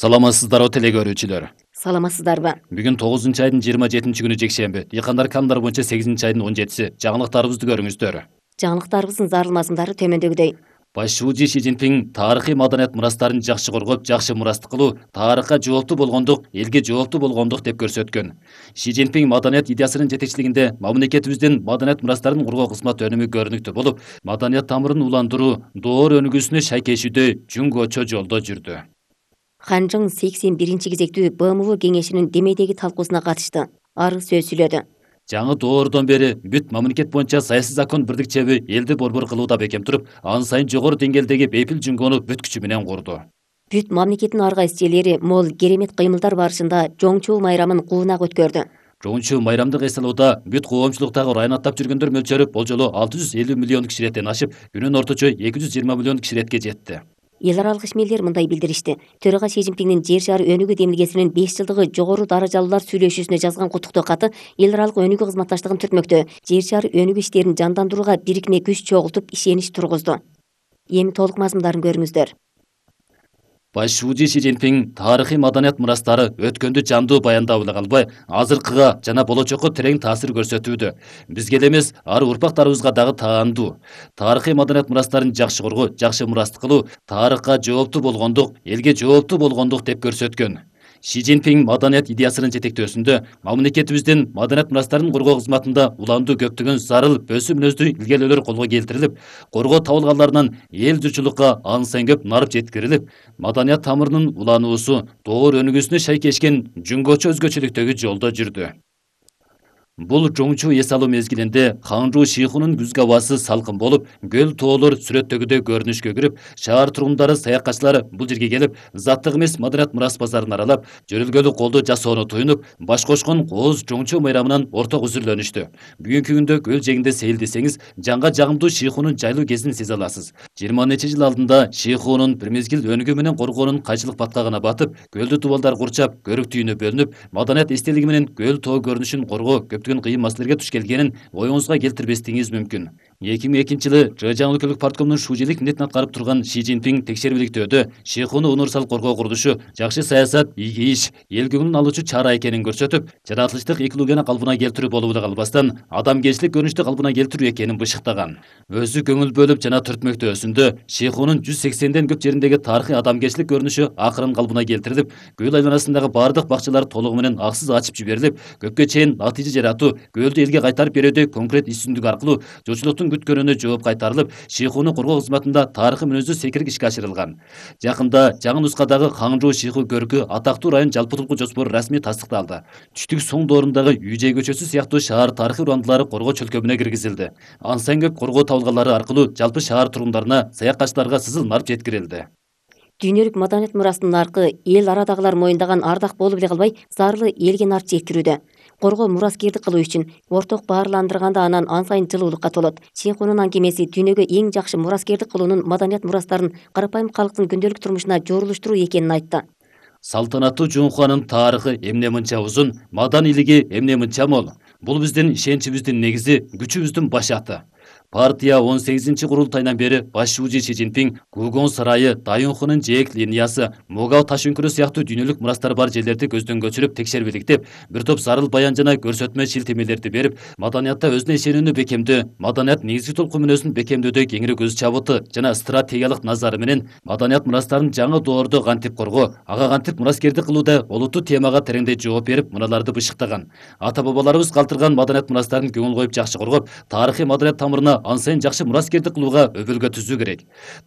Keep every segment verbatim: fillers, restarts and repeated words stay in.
Саламатсыздарбы теле көрүүчүлөр. Саламатсыздарбы? Бүгүн тогузунчу айдын жыйырма жетинчи күнү жекшемби. Дыйкандар канундар боюнча сегизинчи айдын он жетиси. Жаңылыктарыбызды көрүңүздөр. Жаңылыктарыбыздын зарыл мазмундары төмөндөгүдөй. Баш шуужи Си Цзиньпин тарыхый маданият мурастарын жакшы коргоп, жакшы мурастык кылуу, тарыхка жооптуу болгондук, элге жооптуу болгондук деп көрсөткөн. Си Цзиньпин маданият идеясынын жетекчилигинде мамлекетибиздин маданият мурастарын коргоо кызмат өнүмү көрүнүктүү болуп, маданият тамырын уландыруу, доор өнүгүүсүнө шайкешүүдө жөн-кочо жолдо жүрдү. Ханжың сексен биринчи кезектүү Б М В кеңешинин демейдеги талкуусуна катышты. Ары сөз сүйлөдү. Жаңы доордон бери бүт мамлекет боюнча саясий закон бирдикчеби элди борбор кылууда бекем туруп, ан сайын жогору деңгээлдеги бейпил жөнгөнү бүт күчү менен курду. Бүт мамлекеттин ар кайсы жерлери мол керемет кыймылдар барышында жоңчу майрамын куунак өткөрдү. Жоңчу майрамдык эс алууда бүт коомчулуктагы район аттап жүргөндөр мөлчөрү болжолу алты жүз элүү миллион кишилеттен ашып, күнүн орточо эки жүз жыйырма миллион киширетке жетти. Эл аралык ишмерлер мындай билдиришти. Төрага Си Цзиньпиндин жер шары өнүгүү демилгесинин беш жылдыгы жогору даражалуулар сүйлөшүүсүнө жазган куттуктоо каты эл аралык өнүгүү кызматташтыгын түртмөктө, жер шары өнүгүү иштерин жандандырууга бирикме күч чогултуп ишенич тургузду. Эми толук мазмундарын көрүңүздөр. Баш шуужи Си Цзиньпин тарыхый маданият мурастары өткөндү жандуу баяндап эле калбай, азыркыга жана болочокко терең таасир көрсөтүүдө. Бизге эле эмес, ар урпактарыбызга дагы таандуу. Тарыхый маданият мурастарын жакшы коргоо, жакшы мурастык кылуу, тарыхка жооптуу болгондук, элге жооптуу болгондук деп көрсөткөн. Си Цзиньпин маданият идеясынын жетектөөсүндө мамлекетибиздин маданият мурастарын коргоо кызматында уландуу көптөгөн зарыл өсүү мүнөздүү илгерүүлөр колго келтирилип, коргоо табылганларынан эл журтчулукка ан сайын көп нарып жеткирилип, маданият тамырынын улануусу, доор өнүгүүсүнө шайкешкен жөн-кочо өзгөчөлүктөгү жолдо жүрдү. Бул жоңчу эс алуу мезгилинде Ханжуу Шихунун күзгү абасы салкын болуп, көл тоолор сүрөттөгүдөй көрүнүшкө кирип, шаар тургундары, саякатчылар бул жерге келип, заттык эмес маданият мурас базарын аралап, жөрөлгөлүк колду жасоону туюнуп, баш кошкон кооз жоңчу майрамынан орток үзүрлөнүштү. Бүгүнкү күндө көл жээгинде сейилдесеңиз, жанга жагымдуу Шихунун жайлуу кезин сезе аласыз. жыйырма нече жыл алдында Шихунун бир мезгил өнүгүү менен коргоонун кайчылык баткагына батып, көлдү дубалдар курчап, көрүк түйүнү бөлүнүп, маданият эстелиги менен көл тоо көрүнүшүн коргоо көптөгөн кыйын маселелерге туш келгенин оюңузга келтирбестигиңиз мүмкүн. эки миң экинчи жылы Чжэжяң өлкөлүк парткомунун шуужилик милдетин аткарып турган Си Цзиньпин текшерүүлүктөөдө Шихуну универсал коргоо курулушу жакшы саясат, ийги иш, эл көңүлүн алуучу чара экенин көрсөтүп, жаратылыштык экологияны калыбына келтирүү болуп эле калбастан, адамгерчилик көрүнүштү калыбына келтирүү экенин бышыктаган. Өзү көңүл бөлүп жана түртмөктөөсүндө Шихунун жүз сексенден көп жериндеги тарыхый адамгерчилик көрүнүшү акырын калыбына келтирилип, көл айланасындагы бардык бакчалар толугу менен аксыз ачып жиберилип, көпкө чейин натыйжа жаратуу, көлдү элге кайтарып берүүдө конкрет иш-түздүк аркылуу журтчулуктун күткөнүнө жооп кайтарылып, Шихуну коргоо кызматында тарыхый мүнөздүү секирик ишке ашырылган. Жакында жаңы нускадагы Ханжуу Шиху көркү атактуу район жалпытургу жоспору расмий тастыкталды. Түштүк Соң доорундагы Южей көчөсү сыяктуу шаар тарыхый урандылары коргоо чөлкөмүнө киргизилди. Ан сайын көп коргоо табылганлары аркылуу жалпы шаар тургундарына, саякатчыларга сызыл нарып жеткирилди. Дүйнөлүк маданият мурастын наркы эл арадагылар моюндаган ардак болуп эле калбай, зарлы элге нарып жеткирүүдө. Коргоо мураскердик кылуу үчүн орток баарландырганда анан ан сайын жылуулукка толот. Шихунун аңгемеси дүйнөгө эң жакшы мураскердик кылуунун маданият мурастарын карапайым калктын күндөлүк турмушуна жорулуштуруу экенин айтты. Салтанаттуу Жоңхуанын тарыхы эмне мынча узун, маданилиги эмне мынча мол. Бул биздин ишеничибиздин негизи, күчүбүздүн башаты. Партия он сегизинчи курултайынан бери баш шуужи Си Цзиньпин Гугон сарайы, Дайюнхунун жээк линиясы, Могал таш үңкүрү сыяктуу дүйнөлүк мурастар бар жерлерди көздөн көчүрүп текшербиликтеп, бир топ зарыл баян жана көрсөтмө шилтемелерди берип, маданиятта өзүнө ишенүүнү бекемдөө, маданият негизги толкун мүнөзүн бекемдөөдө кеңири көз чабыты жана стратегиялык назары менен маданият мурастарын жаңы доордо кантип коргоо, ага кантип мураскердик кылууда олуттуу темага тереңдей жооп берип, мыналарды бышыктаган. Ата-бабаларыбыз калтырган маданият мурастарын көңүл коюп жакшы коргоп, тарыхый маданият тамырына ан сайын жакшы мураскердик кылууга өбөлгө түзүү керек.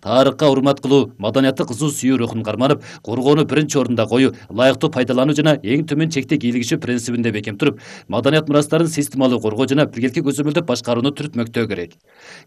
Тарыхка урмат кылуу, маданиятты кызуу сүйүү рухун карманып, коргоону биринчи орунда коюу, ылайыктуу пайдалануу жана эң төмөн чекте кийлигишүү принцибинде бекем туруп, маданият мурастарын системалуу коргоо жана биргеликке көзөмөлдөп башкарууну түртмөктөө керек.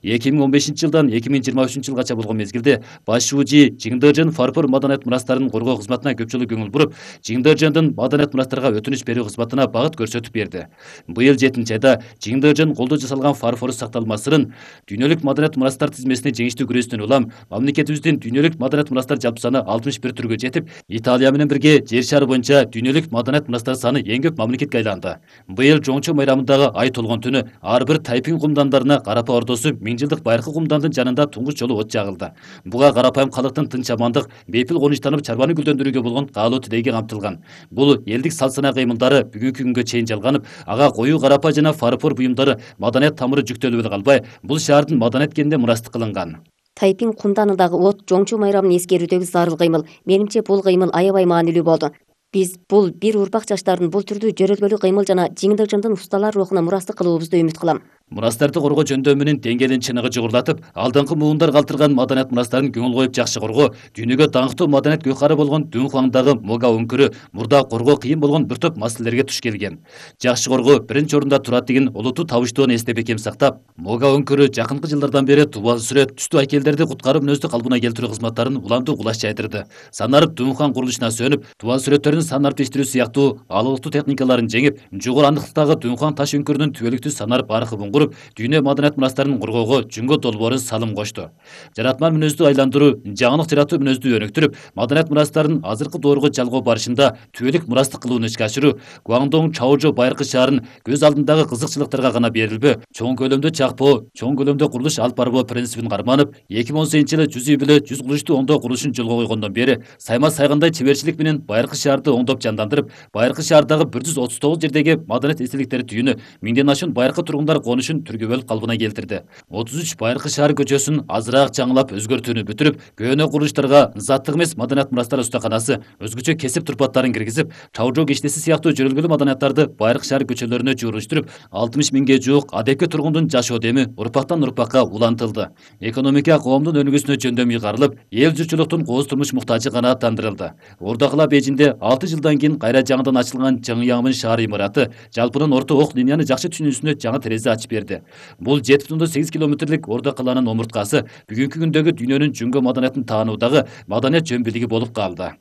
эки миң он бешинчи жылдан эки миң жыйырма үчүнчү жылгача болгон мезгилде баш шуужи Чиңдержен фарфор маданият мурастарын коргоо кызматына көпчүлүк көңүл буруп, Чиңдержендин маданият мурастарга өтүнүч берүү кызматына багыт көрсөтүп берди. Быйыл жетинчи айда Чиңдержен колдо жасалган фарфор сакталмасынын Дүйнөлүк маданият мурастар тизмесине жеңиштүү күрөштөн улам мамлекетибиздин дүйнөлүк маданият мурастар жалпы саны алтымыш бир түргө жетип, Италия менен бирге жер шары боюнча дүйнөлүк маданият мурастар саны эң көп мамлекетке айланды. Быйыл Жоңчу майрамындагы ай толгон түнү ар бир тайпин кумдандарына Карапа ордосу миң жылдык байыркы кумдандын жанында туңгуч жолу от жагылды. Буга карапайым калктын тынч амандык, бейпил конучтанып чарбаны гүлдөндүрүүгө болгон каалоо тилеги камтылган. Бул элдик салт-санаа кыймылдары бүгүнкү күнгө чейин жалганып, ага коюу карапа жана фарфор буюмдары маданият тамыры жүктөлүп эле калбай, бул шаардын маданият кенине мурастык кылынган. Тайпин кумданындагы от Жоңчу майрамын эскерүүдөгү зарыл кыймыл. Менимче бул кыймыл аябай маанилүү болду. Биз бул бир урпак жаштардын бул түрдүү жөрөлгөлүү кыймыл жана жеңилдик жандын усталар рухуна мурастык кылуубузду үмүт кылам. Мурастарды коргоо жөндөмүнүн деңгээлин чыныгы жогорулатып, алдыңкы муундар калтырган маданият мурастарын көңүл коюп жакшы коргоо, дүйнөгө даңктуу маданият гөкары болгон Дунхуаңдагы Мога өңкүрү мурда коргоо кыйын болгон бир топ маселелерге туш келген. Жакшы коргоо биринчи орунда турат деген олуттуу табыштоону эсте бекем сактап, Мога өңкүрү жакынкы жылдардан бери тубал сүрөт, түстүү айкелдерди куткарып мүнөздүү калыбына келтирүү кызматтарын уламдуу кулаш жайдырды. Санарып Дунхуаң курулушуна сөнүп, тубал сүрөттөрүн санарып тештирүү сыяктуу алыктуу техникаларын жеңип, жогору андыктагы Дунхуаң таш өңкүрүнүн түбөлүктүү санарып аркыбын куруп, дүйнө маданият мурастарын коргоого жүнгө долбоорун салым кошту. Жаратман мүнөздүү айландыруу, жаңылык жаратуу мүнөздүү өнүктүрүп, маданият мурастарын азыркы доорго жалгоо барышында түбөлүк мурастык кылууну ишке ашыруу Гуаңдоң Чаожо байыркы шаарын көз алдындагы кызыкчылыктарга гана берилбөө, чоң көлөмдө чакпоо, чоң көлөмдө курулуш алып барбоо принцибин карманып, эки миң он сегизинчи жылы жүз үй бүлө жүз курулушту оңдоо курулушун жолго койгондон бери сайма сайгандай чеберчилик менен байыркы шаарды оңдоп жандандырып, байыркы шаардагы бир жүз отуз тогуз жердеги маданият эстеликтери түйүнү миңден ашуун байыркы тургундар конушун түргө бөлүп калыбына келтирди. отуз үч байыркы шаар көчөсүн азыраак жаңылап өзгөртүүнү бүтүрүп, көөнө курулуштарга заттык эмес маданият мурастар устаканасы, өзгөчө кесип турпаттарын киргизип, Чаожо киштеси сыяктуу жөрөлгөлүү маданияттарды байыркы шаар көчөлөрүнө жууруштуруп, алтымыш миңге жуук адепке тургундун жашоо деми урпактан урпакка улантылды. Экономика коомдун өнүгүүсүнө жөндөм ыйгарылып, эл журтчулуктун кооз турмуш муктажы канааттандырылды. Ордакыла Бейжиңде алты жылдан кийин кайра жаңыдан ачылган Чыңяңмын шаар имараты жалпынын орто ок линияны жакшы түшүнүүсүнө жаңы терезе ачып берди. Бул жети бүтүн ондон сегиз километрлик Орда каланын омурткасы бүгүнкү күндөгү дүйнөнүн жүнгө маданиятын таануудагы маданият жөн бийлиги болуп калды.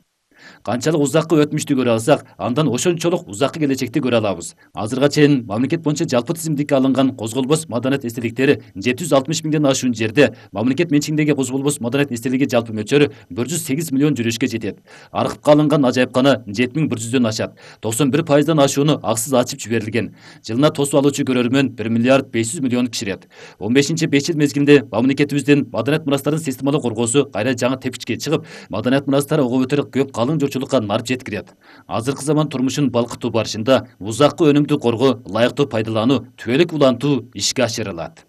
Канчалык узаккы өтмүштү көрө алсак, андан ошончолук узаккы келечекти көрө алабыз. Азырга чейин мамлекет боюнча жалпы тизимдикке алынган козголбос маданият эстеликтери жети жүз алтымыш миңден ашуун жерде, мамлекет менчигиндеги козголбос маданият эстелиги жалпы мөлчөрү бир жүз сегиз миллион жүрүшкө жетет. Архивге алынган ажайыпкана жети миң бир жүздөн ашат. токсон бир пайыздан ашууну аксыз ачып жиберилген. Жылына тосуп алуучу көрөрмөн бир миллиард беш жүз миллион киширет. он бешинчи беш жыл мезгилинде мамлекетибиздин маданият мурастарын системалуу коргоосу кайра жаңы тепкичке чыгып, маданият мурастары ого бетер көп калың журтчулукка нарып жеткирет. Азыркы заман турмушун балкытуу барышында узаккы өнүмдүү коргоо, ылайыктуу пайдалануу, түбөлүк улантуу ишке ашырылат.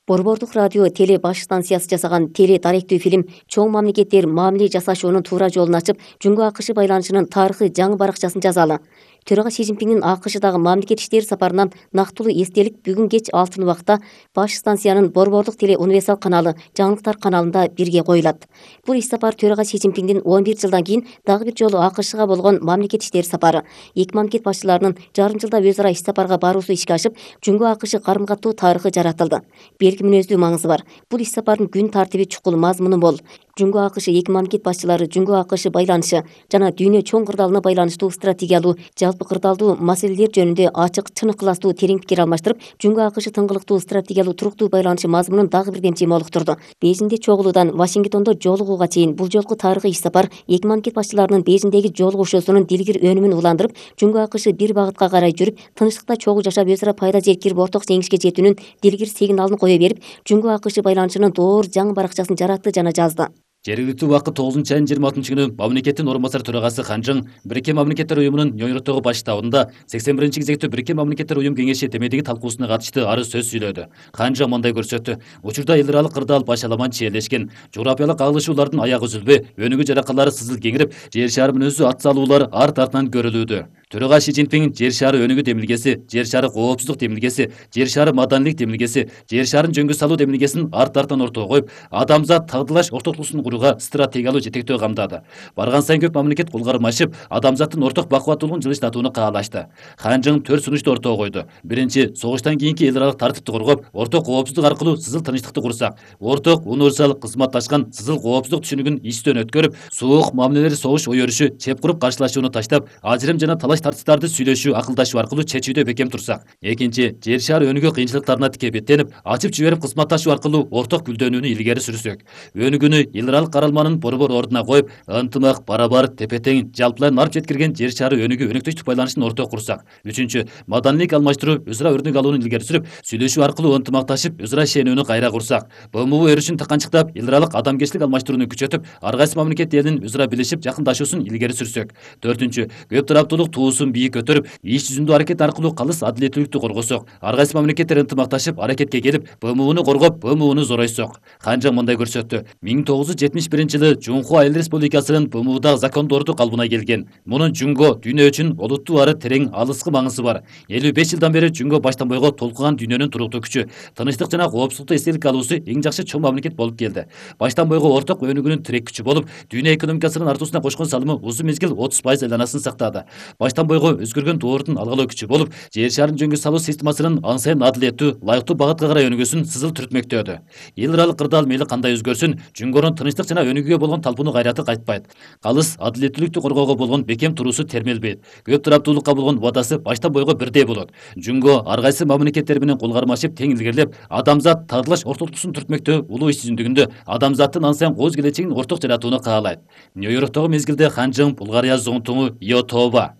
Борбордук радио теле баш станциясы жасаган теле даректүү фильм чоң мамлекеттер мамиле жасашуунун туура жолун ачып, Жүнгө АКШ байланышынын тарыхый жаңы баракчасын жазалы. Төрага Си Цзиньпиңдин АКШдагы мамлекет иштери сапарынан нактылуу эстелик бүгүн кеч алтын убакта баш станциянын Борбордук теле универсал каналы жаңылыктар каналында бирге коюлат. Бул иш сапар төрага Си Цзиньпиңдин он бир жылдан кийин дагы бир жолу АКШга болгон мамлекет иштери сапары. Эки мамлекет башчыларынын жарым жылда өз ара иш сапарга баруусу ишке ашып, Жүнгө АКШ карым катуу тарыхы жаратылды. Белги мүнөздүү маңызы бар. Бул иш сапардын күн тартиби чукул, мазмуну мол. Жүнгө АКШ эки мамлекет башчылары Жүнгө АКШ байланышы жана дүйнө чоң кырдаалына байланыштуу стратегиялуу, жалпы кырдаалдуу маселелер жөнүндө ачык, чынык ыластуу терең пикир алмаштырып, Жүнгө АКШ тыңгылыктуу стратегиялуу туруктуу байланышы мазмунун дагы бир демчи молуктурду. Бейжиңде чогулуудан Вашингтондо жолугууга чейин бул жолку тарыхый иш сапар эки мамлекет башчыларынын Бейжиңдеги жолугушуусунун дилгир өнүмүн уландырып, Жүнгө АКШ бир багытка карай жүрүп, тынчтыкта чогуу жашап өз ара пайда жеткирип орток жеңишке жетүүнүн дилгир сигналын кое берип, Жүнгө АКШ байланышынын доор жаңы баракчасын жаратты жана жазды. Жергиликтүү убакыт тогузунчу айынын жыйырма алтынчы күнү мамлекеттин орун басар төрагасы Ханжың Бириккен Мамлекеттер уюмунун Нью-Йорктогу баш штабында сексен биринчи кезектүү Бириккен Мамлекеттер уюм кеңеши темедеги талкуусуна катышты арыз сөз сүйлөдү. Ханжың мындай көрсөттү. Учурда эл аралык кырдаал баш аламан чиелешкен, жогорапиялык агылышуулардын аягы үзүлбөй, өнүгүү жаракалары сызыл кеңирип, жер шаар мүнөздүү ат салуулар арт артынан көрүлүүдө. Төрага Си Цзиньпиң жер шары өнүгүү демилгеси, жер шары коопсуздук демилгеси, жер шары маданилик демилгеси, жер шарын жөнгө салуу демилгесин арт артан ортого коюп, адамзат тагдылаш ортоктугусун курууга стратегиялуу жетектөө камдады. Барган сайын көп мамлекет кол кармашып, адамзаттын орток бакубаттуулугун жылыштатууну каалашты. Ханжың төрт сунушту ортого койду. Биринчи, согуштан кийинки эл аралык тартипти коргоп, орток коопсуздук аркылуу сызыл тынчтыкты курсак, орток универсал кызматташкан сызыл коопсуздук түшүнүгүн истөн өткөрүп, суук мамилелер, согуш ой өрүшү, чеп куруп каршылашууну таштап, ажырым жана талаш талаш тартыштарды сүйлөшүү, акылдашуу аркылуу чечүүдө бекем турсак. Экинчи, жер шаар өнүгүү кыйынчылыктарына тике беттенип, ачып жиберип кызматташуу аркылуу орток гүлдөнүүнү илгери сүрсөк. Өнүгүүнү эл аралык каралманын борбор ордуна коюп, ынтымак, барабар, тепе-тең, жалпылай нарп жеткирген жер шаары өнүгүү өнөктөштүк байланышын ортого курсак. Үчүнчү, маданийлик алмаштыруу, өз ара өрнөк алууну илгери сүрүп, сүйлөшүү аркылуу ынтымакташып, өз ара ишенүүнү кайра курсак. БМУ өрүшүн таканчыктап, эл аралык адамгерчилик алмаштырууну күчөтүп, ар кайсы мамлекет элинин өз ара билишип, жакындашуусун илгери сүрсөк. Төртүнчү, көп тараптуулук туусун бийик көтөрүп, иш жүзүндө аракет аркылуу калыс адилеттүүлүктү коргосок. Ар кайсы мамлекеттер ынтымакташып, аракетке келип, БМУну коргоп, БМУну зоройсок. Ханжаң мындай көрсөттү. миң тогуз жүз жетимиш биринчи жылы Жунхуа Эл Республикасынын БМУдагы закондорду калыбына келген. Мунун Жунго дүйнө үчүн олуттуу ары терең алыскы маңызы бар. элүү беш жылдан бери Жунго баштан бойго толкуган дүйнөнүн туруктуу күчү, тынычтык жана коопсуздукту эстелик алуусу эң жакшы чоң мамлекет болуп келди. Баштан бойго орток өнүгүүнүн тирек күчү болуп, дүйнө экономикасынын артуусуна кошкон салымы узун мезгил отуз пайыз айланасын сактады. Баштан бойго өзгөргөн доордун алгалоо күчү болуп, жер шаарын жөнгө салуу системасынын ан сайын адилеттүү, лайыктуу багытка карай өнүгүүсүн сызыл түртмөктөдү. Эл аралык кырдаал мейли кандай өзгөрсүн, Жунгонун тынычтык жана өнүгүүгө болгон талпунуу кайраты кайтпайт. Калыс адилеттүүлүктү коргоого болгон бекем туруусу термелбейт. Көп тараптуулукка болгон убадасы баштан бойго бирдей болот. Жунго ар кайсы мамлекеттер менен кол кармашып тең илгерилеп, адамзат тагдылаш ортолуктуусун түртмөктө улуу иш жүзүндүгүндө адамзаттын ан сайын кооз келечегин орток жаратууну каалайт. Нью-Йорктогу мезгилде Ханжаң Булгария зоңтуңу Йотова,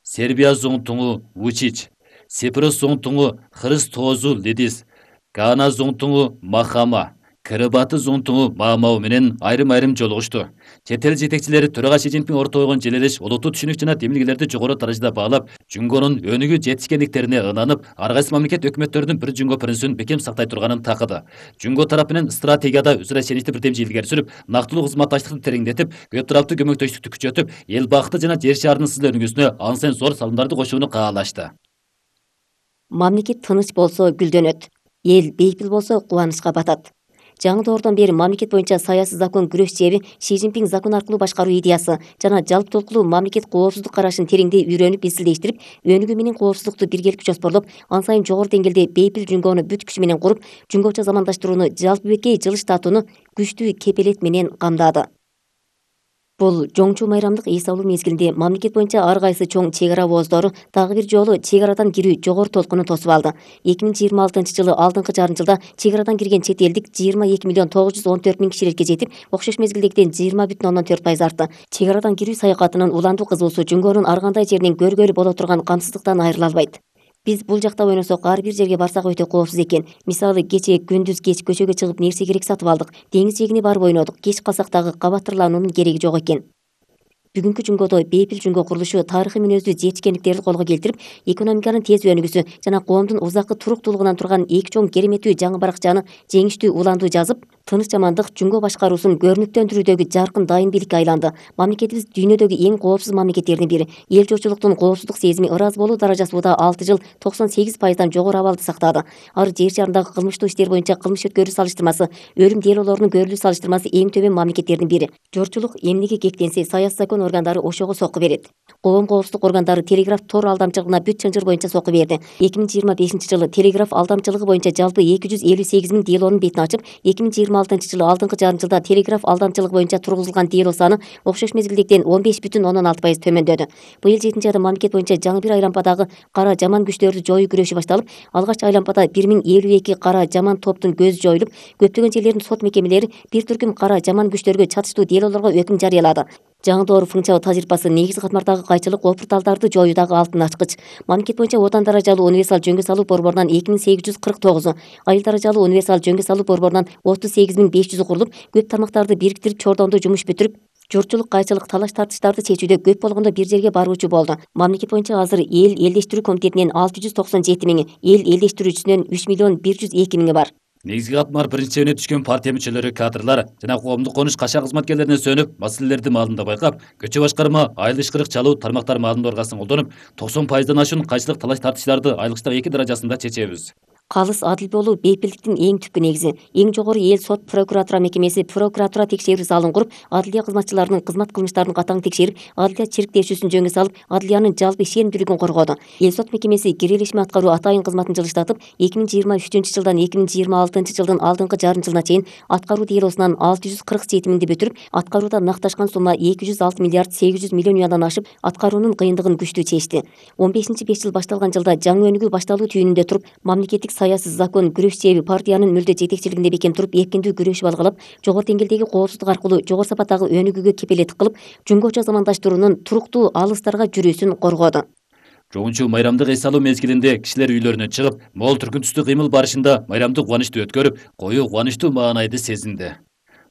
Сербия зоңтуңу Вучич, Сепирос зоңтуңу Христозу Лидис, Гана зоңтуңу Махама, Кырыбаты зоңтуңу Маамау менен айрым-айрым жолугушту. Чет эл жетекчилери төрага Си Цзиньпин ортого койгон желелеш, олуттуу түшүнүк жана демилгелерди жогору даражада баалап, Жунгонун өнүгүү жетишкендиктерине ынанып, ар кайсы мамлекет өкмөттөрүнүн бир Жунго принцибин бекем сактай турганын такыды. Жунго тарапы менен стратегияда өз ара ишеничти бирдемчи илгери сүрүп, нактылуу кызматташтыкты тереңдетип, көп тараптуу көмөктөштүктү күчөтүп, эл бакыты жана жер шаарынын сызыл өнүгүүсүнө ан сайын зор салымдарды кошууну каалашты. Мамлекет тыныч болсо гүлдөнөт, эл бейпил болсо кубанычка батат. Жаңы доордон бери мамлекет боюнча саясий закон күрөш себеби Си Цзиньпин закон аркылуу башкаруу идеясы жана жалпы толкулуу мамлекет коопсуздук карашын тереңдей үйрөнүп изилдештирип, өнүгүү менен коопсуздукту биргеликче жоспорлоп, ан сайын жогору деңгээлде бейпил Жунгону бүт күчү менен куруп, жунгочо замандаштырууну жалпы беткей жылыштатууну күчтүү кепелет менен камдады. Бул жоңчу майрамдык эс алуу мезгилинде мамлекет боюнча ар кайсы чоң чек ара ооздору дагы бир жолу чек арадан кирүү жогору толкуну тосуп алды. эки миң жыйырма алтынчы жылы алдыңкы жарым жылда чек арадан кирген чет элдик жыйырма эки миллион тогуз жүз он төрт миң кишилекке жетип, окшош мезгилдегиден жыйырма бүтүн ондон төрт пайыз артты. Чек арадан кирүү саякатынын уландуу кызуусу Жунгонун ар кандай жеринен көргөлү боло турган камсыздыктан айрыла албайт. Биз бул жакта ойносок ар бир жерге барсак өтө коопсуз экен. Мисалы, кечээ күндүз кеч көчөгө чыгып нерсе керек сатып алдык. Деңиз жээгине барып ойнодук. Кеч калсак дагы кабаттырлануунун кереги жок экен. Бүгүнкү Жунгодо бейпил Жунго курулушу тарыхый мүнөздүү жетишкендиктерди колго келтирип, экономиканын тез өнүгүүсү жана коомдун узаккы туруктуулугунан турган эки чоң кереметтүү жаңы баракчаны жеңиштүү уландуу жазып, тыныч жамандык Жунго башкаруусун көрүнүктөндүрүүдөгү жаркын дайын бийликке айланды. Мамлекетибиз дүйнөдөгү эң коопсуз мамлекеттердин бири. Эл журтчулуктун коопсуздук сезими ырас болуу даражасы уда алты жыл токсон сегиз пайыздан жогору абалды сактады. Ар жер шарындагы кылмыштуу иштер боюнча кылмыш өткөрүү салыштырмасы, өлүм делолорунун көрүлүү салыштырмасы эң төмөн мамлекеттердин бири. Журтчулук эмнеге кектенсе, саясий закон органдары ошого сокку берет. Коом коопсуздук органдары телеграф тор алдамчылыгына бүт чынжыр боюнча сокку берди. эки миң жыйырма бешинчи жылы телеграф алдамчылыгы боюнча жалпы эки жүз элүү сегиз миң делонун бетин ачып, эки миң жыйырма алтынчы жылы алдыңкы жарым жылда телеграф алдамчылыгы боюнча тургузулган дело саны окшош мезгилдегиден он беш бүтүн ондон алты пайыз төмөндөдү. Быйыл жетинчи айда мамлекет боюнча жаңы бир айлампадагы кара жаман күчтөрдү жоюу күрөшү башталып, алгач айлампада бир миң элүү эки кара жаман топтун көзү жоюлуп, көптөгөн жерлердин сот мекемелери бир түркүм кара жаман күчтөргө чатыштуу делолорго өкүм жарыялады. Жаңы доор функциялуу тажрыйбасы негизги катмардагы кайчылык опурталдарды жоюудагы алтын ачкыч. Мамлекет боюнча отан даражалуу универсал жөнгө салуу борборунан эки миң сегиз жүз кырк тогузу, айыл даражалуу универсал жөнгө салуу борборунан отуз сегиз миң беш жүзү курулуп, көп тармактарды бириктирип чордондуу жумуш бүтүрүп, журтчулук кайчылык талаш тартыштарды чечүүдө көп болгондо бир жерге баруучу болду. Мамлекет боюнча азыр эл элдештирүү комитетинен алты жүз токсон жети миңи, эл элдештирүүчүсүнөн үч миллион бир жүз эки миңи бар. Негизги катмар биринчи түшкөн партия мүчөлөрү, кадрлар жана коомдук конуш каша кызматкерлерине сөнүп, маселелерди маалында байкап, көчө башкарма, айыл ишкырык чалуу тармактар маалында оргасын колдонуп, токсон пайыздан ашуун кайчылык талаш тартыштарды айлыктагы эки даражасында чечебиз. Калыс адил болуу бейпилдиктин эң түпкү негизи. Эң жогору эл сот прокуратура мекемеси прокуратура текшерүү залын куруп, адылия кызматчыларынын кызмат кылмыштарын катаң текшерип, адылия чирктешүүсүн жөнгө салып, адылиянын жалпы ишенимдүүлүгүн коргоду. Эл сот мекемеси кирелешме аткаруу атайын кызматын жылыштатып, эки миң жыйырма үчүнчү жылдан эки миң жыйырма алтынчы жылдын алдыңкы жарым жылына чейин аткаруу делосунан алты жүз кырк жети бүтүрүп, аткарууда накташкан сумма эки жүз алты миллиард сегиз жүз миллион юандан ашып, аткаруунун кыйындыгын күчтүү чечти. он бешинчи беш жыл башталган жылда жаңы өнүгүү башталуу түйүнүндө туруп, мамлекеттик саясий закон күрөшчү партиянын мүлдө жетекчилигинде бекем туруп, эркиндүү күрөшүп алгалап, жогору деңгээлдеги коопсуздук аркылуу жогору сапаттагы өнүгүүгө кепелеттик кылып, жумгоча замандаштыруунун туруктуу алыстарга жүрүүсүн коргоду. Чоңчу майрамдык эс алуу мезгилинде кишилер үйлөрүнө чыгып, мол түркүн түстүү кыймыл барышында майрамдык кубанычты өткөрүп, коюу кубанычтуу маанайды сезинди.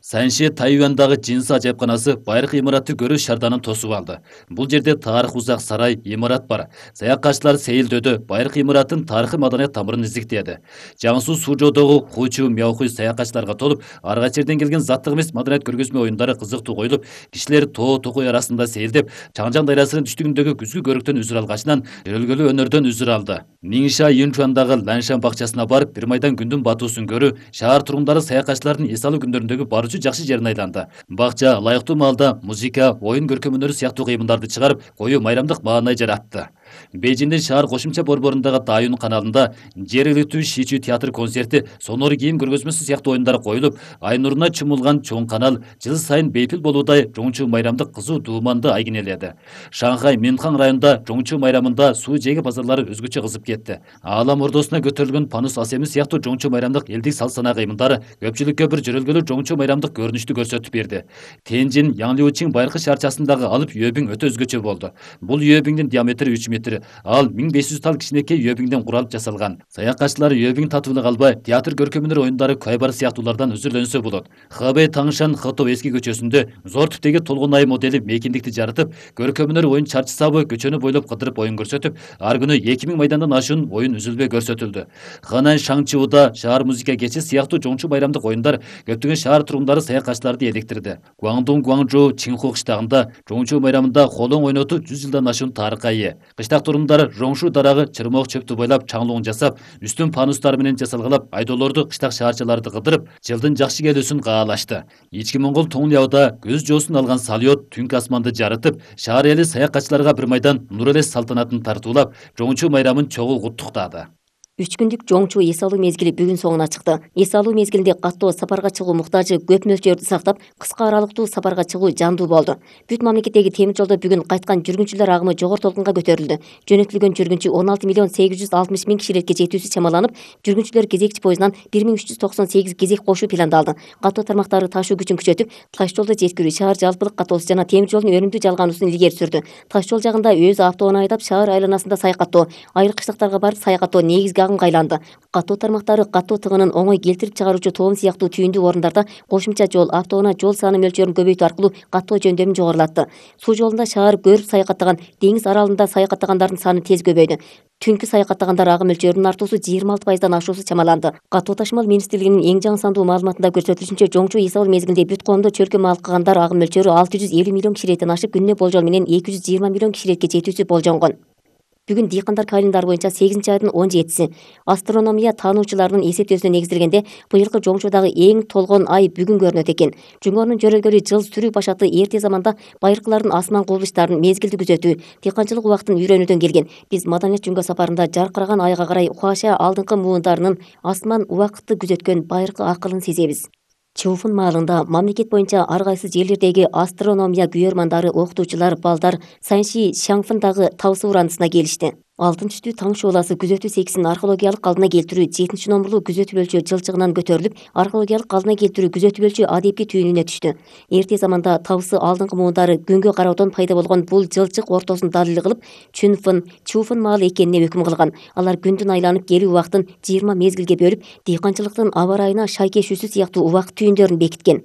Санши Тайвандагы Жинса ажайыпканасы байыркы имаратты көрүү шарданын тосуп алды. Бул жерде тарых узак сарай, имарат бар. Саякатчылар сейилдөдө байыркы имараттын тарыхый маданият тамырын издиктеди. Жаңсу Сужодогу Хучу Мяохуй саякатчыларга толуп, ар кайсы жерден келген заттык эмес маданият көргөзмө оюндары кызыктуу коюлуп, кишилер тоо токой арасында сейилдеп, Чаңжан дайрасынын түштүгүндөгү күзгү көрүктөн үзүр алгачынан жөрөлгөлүү өнөрдөн үзүр алды. Ниңша Юнчуандагы Ланшан бакчасына барып, бир майдан күндүн батуусун көрүү, шаар тургундары саякатчылардын эс алуу күндөрүндөгү барчу жакшы жерин айланды. Бакча ылайыктуу маалда музыка, оюн көркөм өнөрү сыяктуу кыймылдарды чыгарып, коюу майрамдык маанай жаратты. Бейжиңдин шаар кошумча борборундагы Дайун каналында жергиликтүү Шичу театр концерти, сонор кийим көргөзмөсү сыяктуу оюндар коюлуп, ай нуруна чумулган чоң канал жыл сайын бейпил болуудай Чоңчу майрамдык кызуу дууманды айгинеледи. Шанхай Минхан районунда Чоңчу майрамында суу жээги базарлары өзгөчө кызып кетти. Аалам ордосуна көтөрүлгөн панус асеми сыяктуу Чоңчу майрамдык элдик салт-сана кыймылдары көпчүлүккө бир жөрөлгөлүү Чоңчу майрамдык көрүнүштү көрсөтүп берди. Тенжин Яңлиучиң байыркы шаарчасындагы алып үйөбүң өтө өзгөчө болду. Бул үйөбүңдүн диаметри үч метр, ал миң беш жүз тал кичинекей үйөбүңдөн куралып жасалган. Саякатчылар үйөбүң татуулук албай, театр көркөм өнөр оюндары Кайбар сыяктуулардан үзүрлөнсө болот. Хэбэй Таңшан Хото эски көчөсүндө зор типтеги толгон ай модели мейкиндикти жарытып, көркөм өнөр оюн чарчы сабы көчөнү бойлоп кыдырып оюн көрсөтүп, ар күнү эки миң майдандан ашуун оюн үзүлбөй көрсөтүлдү. Ханан Шаңчууда шаар музыка кечи сыяктуу Чоңчу майрамдык оюндар көптөгөн шаар тургундары саякатчыларды электирди. Гуаңдун Гуаңжоу Чинху кыштагында Чоңчу майрамында холоң ойнотуу жүз жылдан ашуун тарыхка ээ. Кыштак тургундар Жоңшу дарагы чырмок чөптү бойлап чаңлуун жасап, үстүн панустар менен жасалгалап, айдоолорду кыштак шаарчыларды кыдырып, жылдын жакшы келүүсүн каалашты. Ички Моңгол Тоңлябыда көз жоосун алган салют түнкү асманды жарытып, шаар эли саякатчыларга бир майдан нур элес салтанатын тартуулап, Чоңчу майрамын чогуу куттуктады. Үч күндүк Чоңчу эс алуу мезгили бүгүн соңуна чыкты. Эс алуу мезгилинде каттоо сапарга чыгуу муктажы көп мөлчөрдү сактап, кыска аралыктуу сапарга чыгуу жандуу болду. Бүт мамлекеттеги темир жолдо бүгүн кайткан жүргүнчүлөр агымы жогору толкунга көтөрүлдү. Жөнөтүлгөн жүргүнчү он алты миллион сегиз жүз алтымыш миң кишилекке жетүүсү чамаланып, жүргүнчүлөр кезекчи поездунан бир миң үч жүз токсон сегиз кезек кошуу пландалды. Каттоо тармактары ташуу күчүн күчөтүп, таш жолдо жеткирүү, шаар жалпылык каттоосу жана темир жолдун өнүмдүү жалгаануусун илгери сүрдү. Таш жол жагында өз автоунаа айдап, шаар айланасында саякаттоо, айыл кыштактарга барып саякаттоо негизги агымга айланды. Каттоо тармактары каттоо тыгынын оңой келтирип чыгаруучу тоом сыяктуу түйүндүү орундарда кошумча жол, автоунаа жол саны мөлчөрүн көбөйтүү аркылуу каттоо жөндөмүн жогорулатты. Суу жолунда шаар көрүп саякаттаган, деңиз аралында саякаттагандардын саны тез көбөйдү. Түнкү саякаттагандар агым мөлчөрүнүн артуусу жыйырма алты пайыздан ашуусу чамаланды. Каттоо ташымал министрлигинин эң жаңы сандуу маалыматында көрсөтүлүшүнчө, Чоңчу эс алуу мезгилинде бүт коомдо чөлкө мал кылгандар агым мөлчөрү алты жүз элүү миллион кишилеттен ашып, күнүнө болжол менен эки жүз жыйырма миллион кишилекке жетүүсү болжонгон. Бүгүн дыйкандар календарь боюнча сегизинчи айдын он жетиси. Астрономия таануучуларынын эсептөөсүнө негизделгенде, быйылкы Чоңчудагы эң толгон ай бүгүн көрүнөт экен. Жунгонун жөрөлгөлү жыл сүрүү башаты эрте заманда байыркылардын асман кубулуштарын мезгилди күзөтүү, дыйканчылык убактын үйрөнүүдөн келген. Биз маданият жөнгө сапарында жаркыраган айга карай Хуаша алдыңкы муундарынын асман убакытты күзөткөн байыркы акылын сезебиз. Чоуфун маалында мамлекет боюнча ар кайсы жерлердеги астрономия күйөрмандары, окутуучулар, балдар Санши Шаңфындагы тау суурандысына келишти. Алтын түстүү таң шооласы күзөтүү секисин археологиялык калдына келтирүү жетинчи номурлуу күзөтүү өлчө жылчыгынан көтөрүлүп, археологиялык калдына келтирүү күзөтүү өлчө адепкий түйүнүнө түштү. Эрте заманда табысы алдыңкы муундары күнгө кароодон пайда болгон бул жылчык ортосун далил кылып, Чүнфын, Чуфын маалы экенине өкүм кылган. Алар күндүн айланып келүү убактын жыйырма мезгилге бөлүп, дыйканчылыктын аба ырайына шайкешүүсү сыяктуу убакыт түйүндөрүн бекиткен.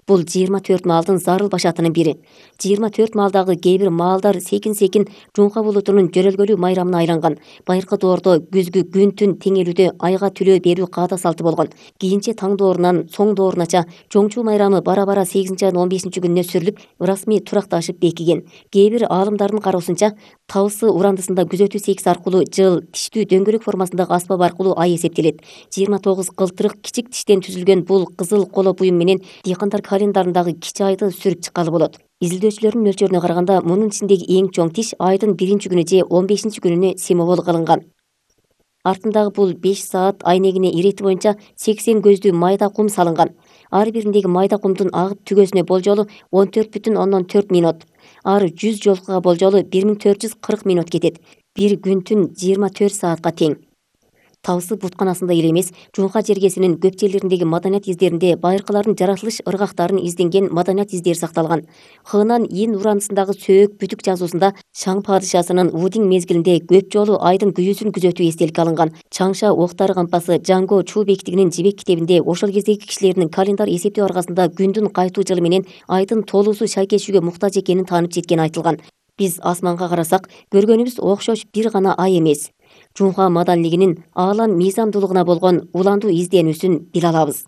Бул жыйырма төрт маалдын зарыл башатынын бири. жыйырма төрт маалдагы кээ бир маалдар секин-секин Жунка булутунун жөрөлгөлүү майрамына айланган. Байыркы доордо күзгү күн-түн теңелүүдө айга түлөө берүү каада салты болгон. Кийинче таң доорунан соң доорунача чоңчуу майрамы бара-бара сегизинчи айдын он бешинчи күнүнө сүрүлүп, ырасмий туракташып бекиген. Кээ бир аалымдардын кароосунча Табысы урандысында күзөтүү секиси аркылуу жыл тиштүү дөңгөлөк формасындагы аспап аркылуу ай эсептелет. жыйырма тогуз кылтырык кичик тиштен түзүлгөн бул кызыл коло буюм менен дыйкандар календарындагы кичи айды сүрүп чыккалы болот. Изилдөөчүлөрдүн мөлчөрүнө караганда мунун ичиндеги эң чоң тиш айдын биринчи күнү же он бешинчи күнүнө символ кылынган. Артындагы бул беш саат айнегине ирети боюнча сексен көздүү майда кум салынган. Ар бириндеги майда кумдун агып түгөсүнө болжолу он төрт бүтүн ондон төрт минут. Ар жүз жолкуга болжолу бир миң төрт жүз кырк минут кетет. Бир күн-түн жыйырма төрт саатка тең. Табысы бутканасында эле эмес, Жунка жергесинин көп жерлериндеги маданият издеринде байыркылардын жаратылыш ыргактарын изденген маданият издери сакталган. Хынан Ин урандысындагы сөөк бүтүк жазуусунда Шаң падышасынын Удин мезгилинде көп жолу айдын күйүүсүн күзөтүү эстеликке алынган. Чаңша октары кампасы Жаңго Чуу бектигинин жибек китебинде ошол кездеги кишилердин календар эсептөө аркасында күндүн кайтуу жылы менен айдын толуусу шайкешүүгө муктаж экенин таанып жеткени айтылган. Биз асманга карасак, көргөнүбүз окшош бир гана ай эмес. Жунха маданилигинин аалам мыйзамдуулугуна болгон уландуу изденүүсүн биле алабыз.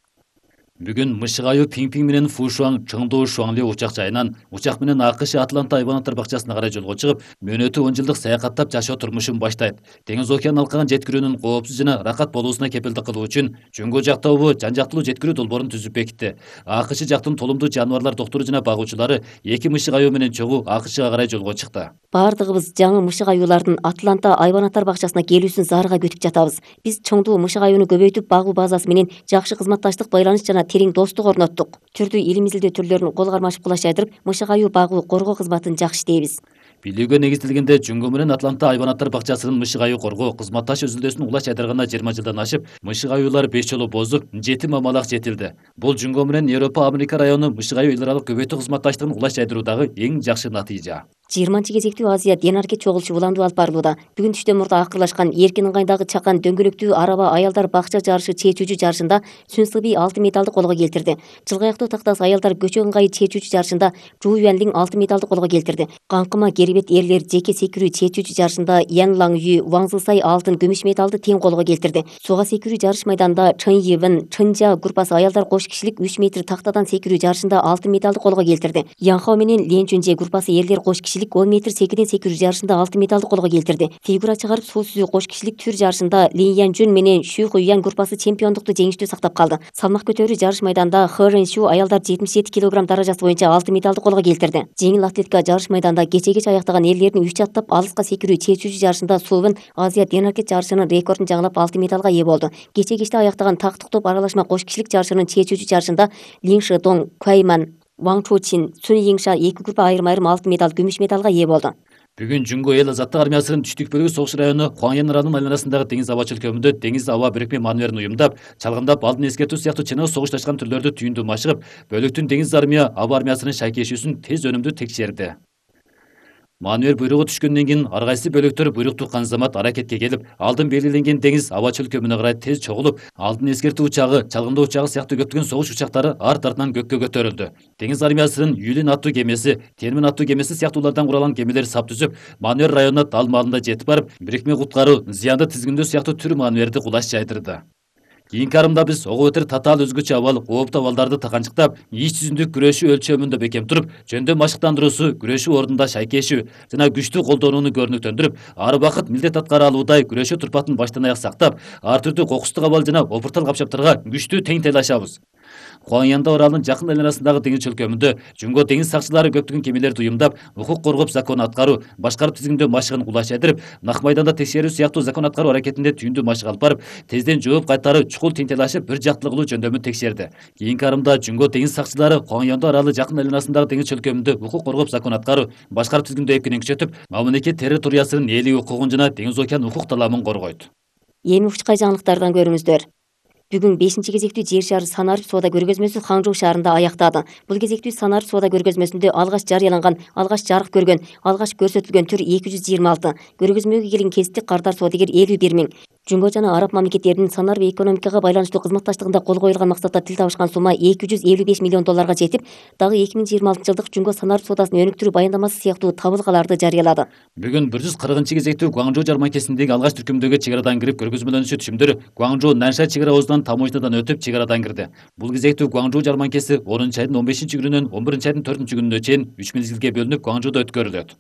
Бүгүн Мышык айы Пиңпиң менен Фушуаң Чыңдоо Шуаңли учак жайынан учак менен АКШ Атланта айбанаттар бакчасына карай жолго чыгып, мөөнөтү он жылдык саякаттап жашоо турмушун баштайт. Деңиз океан алкагын жеткирүүнүн коопсуз жана рахат болуусуна кепилдик кылуу үчүн Жөнгө жак тобу жан-жактылуу жеткирүү долбоорун түзүп бекитти. АКШ жактын толумдуу жаныбарлар доктуру жана багуучулары эки мышык аюу менен чогуу АКШга карай жолго чыкты. Бардыгыбыз жаңы мышык аюулардын Атланта айбанаттар бакчасына келүүсүн зарыга күтүп жатабыз. Биз чоңдуу мышык аюуну көбөйтүп багуу базасы менен жакшы кызматташтык байланыш жана терең достук орноттук. Түрдүү илим изилдөө түрлөрүн кол кармашып кулаш жайдырып, мышык аюу багуу коргоо кызматын жакшы иштейбиз. Билүүгө негизделгенде Жөнгө менен Атланта айбанаттар бакчасынын мышык аюу коргоо кызматташ үзүлдөсүн улаш жайдырганына жыйырма жылдан ашып, мышык аюулар беш жолу бозуп, жети мамалак жетилди. Бул Жөнгө менен Европа Америка району мышык аюу эл аралык көбөйтүү кызматташтыгын улаш жайдыруудагы эң жакшы натыйжа. жыйырманчы кезектүү Азия Денарке чогулушу уландуу алып барылууда. Бүгүн түштөн мурда акырлашкан эркин ыңгайдагы чакан дөңгөлөктүү араба аялдар бакча жарышы чечүүчү жарышында Сүнсыби алтын медалды колго келтирди. Жылгаяктуу тактас аялдар көчө ыңгайы чечүүчү жарышында Жу Юанлиң алтын медалды колго келтирди. Каңкыма керебет эрлер жеке секирүү чечүүчү жарышында Ян Лаң Ю Ваң Зысай алтын күмүш медалды тең колго келтирди. Суга секирүү жарыш майданында Чын Йивен Чынжа группасы аялдар кош кишилик үч метр тактадан секирүү жарышында алтын медалды колго келтирди. Янхао менен Лен Чүнже группасы эрлер кош кишилик он метр секиден секирүү жарышында алтын медалды колго келтирди. Фигура чыгарып суу сүзүү кош кишилик түр жарышында Лин Ян Жун менен Шу Хуян группасы чемпиондукту жеңиштүү сактап калды. Салмак көтөрүү жарыш майданында Хэ Рен Шу аялдар жетимиш жети килограмм даражасы боюнча алтын медалды колго келтирди. Жеңил атлетика жарыш майданында кече-кеч аяктаган эрлердин үч аттап алыска секирүү чечүүчү жарышында Сувен Азия Денарке жарышынын рекордун жаңылап алтын медалга ээ болду. Кече-кечте аяктаган тактык топ аралашма кош кишилик жарышынын чечүүчү жарышында Лин Шэдong Куайман Ваң Чучин Цун Йиңша эки группа айрым-айрым алтын медаль күмүш медалга ээ болду. Бүгүн Жөнгө эл азаттык армиясынын түштүк бөлүгү согуш району Хуаңян районунун айланасындагы деңиз аба чөлкөмүндө деңиз аба бирикме маневрин уюмдап, чалгындап, алдын эскертүү сыяктуу чыныгы согушташкан түрлөрдү түйүндүү машыгып, бөлүктүн деңиз армия аба армиясынын шайкешүүсүн тез өнүмдүү текшерди. Маневр буйругу түшкөндөн кийин ар кайсы бөлүктөр буйрук туккан замат аракетке келип, алдын белгиленген деңиз аба чөлкөмүнө карай тез чогулуп, алдын эскертүү учагы, чалгындоо учагы сыяктуу көптөгөн согуш учактары арт артынан көккө көтөрүлдү. Деңиз армиясынын Юлин аттуу кемеси, Термин аттуу кемеси сыяктуулардан куралган кемелер сап түзүп, маневр районуна дал маалында жетип барып, бирикме куткаруу, зыянды тизгиндөө сыяктуу түр маневрди кулаш жайдырды. Кийинки арымда биз ого бетер татаал өзгөчө абал, кооптуу абалдарды таканчыктап, ич жүзүндүк күрөшүү өлчөмүндө бекем туруп, жөндөө машыктандыруусу, күрөшүү ордунда шайкешүү жана күчтүү колдонууну көрүнүктөндүрүп, ар убакыт милдет аткара алуудай күрөшүү турпатын баштан аяк сактап, ар түрдүү кокустук абал жана опуртал капчаптарга күчтүү тең тейлашабыз. Хуаңянда оралынын жакын айланасындагы деңиз чөлкөмүндө Жөнгө деңиз сакчылары көптөгөн кемелерди уюмдап, укук коргоп закон аткаруу, башкарып тизгиндөө машыгын кулаш жайдырып, Нак майданда текшерүү сыяктуу закон аткаруу аракетинде түйүндүү машык алып барып, тезден жооп кайтары чукул тең тейлашып, бир жактылуу кылуу жөндөмүн текшерди. Кийинки арымда Жөнгө деңиз сакчылары Хуаңянда аралы жакын айланасындагы деңиз чөлкөмүндө укук коргоп закон аткаруу, башкарып тизгиндөө эпкенин күчөтүп, мамлекет территориясынын ээлик укугун жана деңиз океан укук таламын коргойт. Эми учкай жаңылыктардан көрүңүздөр. Бүгүн бешинчи кезектүү жер шары санарип соода көргөзмөсү Хаңжоу шаарында аяктады. Бул кезектүү санарип соода көргөзмөсүндө алгач жарыяланган, алгач жарык көргөн, алгач көрсөтүлгөн түр эки жүз жыйырма алты, көргөзмөгө келген кесиптик кардар соодагер элүү бир миң. Жумго жана араб мамлекеттеринин санарип экономикага байланыштуу кызматташтыгында кол коюлган максатта тил табышкан сумма эки жүз элүү беш миллион долларга жетип, дагы эки миң жыйырма алтынчы жылдык Жумго санарип соодасын өнүктүрүү баяндамасы сыяктуу табылгаларды жарыялады. Бүгүн бир жүз кыркынчы кезектүү Гуаңжоу жарманкесиндеги алгач түркүмдөгү чек арадан кирип көргөзмөлөнүүчү түшүмдөр Гуаңжоу Нанша чек ара обузунан таможнядан өтүп чек арадан кирди. Бул кезектүү Гуаңжоу жарманкеси онунчу айдын он бешинчи күнүнөн он биринчи айдын төртүнчү күнүнө чейин үч мезгилге бөлүнүп Гуаңжоудо өткөрүлөт.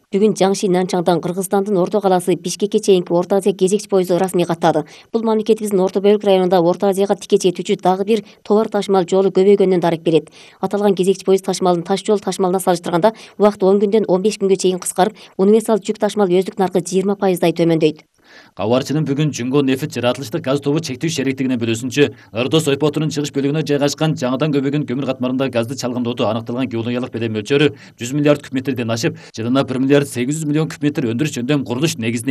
Бүгүн Жаңши Нанчаңдан Кыргызстандын Орто калаасы Бишкекке чейинки Орто Азия кезекчи поезду расмий каттады. Бул мамлекетибиздин Орто бөлүк районунда Орто Азияга тике жетүүчү дагы бир товар ташымал жолу көбөйгөнүнөн дарек берет. Аталган кезекчи поезд ташымалын таш жол ташымалына салыштырганда убакыт он күндөн он беш күнгө чейин кыскарып, универсал жүк ташымал өздүк наркы жыйырма пайыздай төмөндөйт. Кабарчынын бүгүн Жумго нефт жаратылыштык газ тобу чектүү шериктигинин бөлүүсүнчө Ырдос ойпотунун чыгыш бөлүгүнө жайгашкан жаңыдан көбөйгөн көмүр катмарында газды чалгындоодо аныкталган геологиялык белем мөлчөрү жүз миллиард куб метрден ашып, жылына бир миллиард сегиз жүз миллион куб метр өндүрүш жөндөм курулуш негизине